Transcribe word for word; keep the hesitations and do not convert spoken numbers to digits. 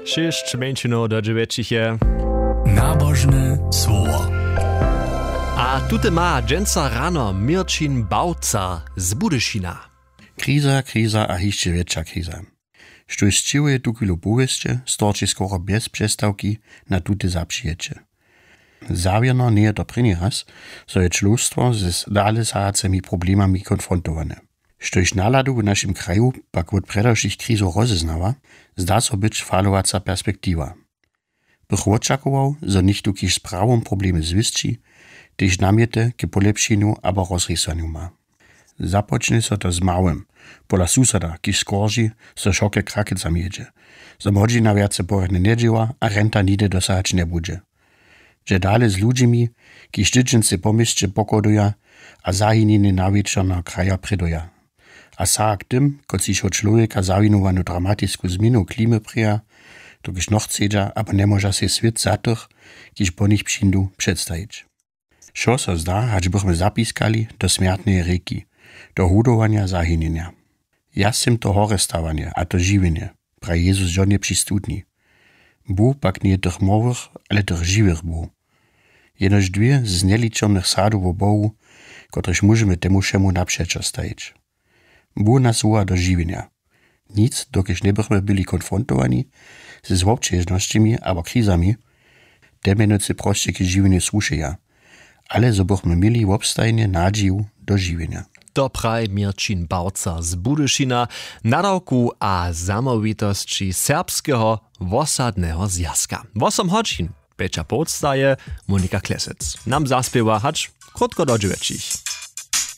Šěsć mjeńšinow do dźewjećich je. Nabožne słowo. A tute ma dźensa rano Měrćin Bałca z Budyšina. Kriza, kriza a hišće wjetša kriza. Štóž sćěhuje tuchwilu powěsće, storči skoro bjez přestawki na tute zapřijeće. Zawěrno njeje to prěni raz, zo je čłowstwo z dale sahacemi problemami konfrontowane. Štóž naladu w našim kraju pak wot prjedy wšěch krizow rozeznawa, zda so być falowaca perspektiwa. Bych wočakował, zo něchtó kiž z prawom problemy zwěsći, tež namjety k polěpšenju abo rozrěsłanju ma. Započnje so to z małym, pola susada kiž skorži, zo šoke krakecam jědźe, zo młodźina wjace porjadnje njedźěła a renta nihdy dosahać njebudźe. Dźe dale z ludźimi, kiž tydźency po měsće pochoduja a zahinjenje nawječorneho kraja prěduja. A saha k tym, kotřiž wot čłowjeka zawinowanu dramatisku změnu klimy prěja, dokelž nochcedźa abo njemóža sej swět za tych, kiž po nich přińdu, předstajić. Wšo so zda, hač bychmy zapiskali do smjertneje rěki, do hudowanja zahinjenja. Ja sym to horestawanje a to žiwjenje, praji Jezus žonje při studni. Bóh pak njeje tych morwych, ale tych žiwych Bóh. Jenož dwě z njeličomnych sadow wo Bohu, kotrež móžemy temu wšemu napřećo stajić. Bóh nas woła do žiwjenja. Nic, dokelž njebychmy byli konfrontowani z wobćežnosćemi abo krizami, te mjenujcy prosće k žiwjenju słušeja, ale zo bychmy měli wobstajnje nadźiju do žiwjenja. To praji Měrćin Bałca z Budyšina, nadawku a zamołwitosći Serbskeho wosadneho zwjazka. Wosom hodźin, pjeća połdstaje, Monika Klesec nam zaspěwa hač krótko do dźewjećich.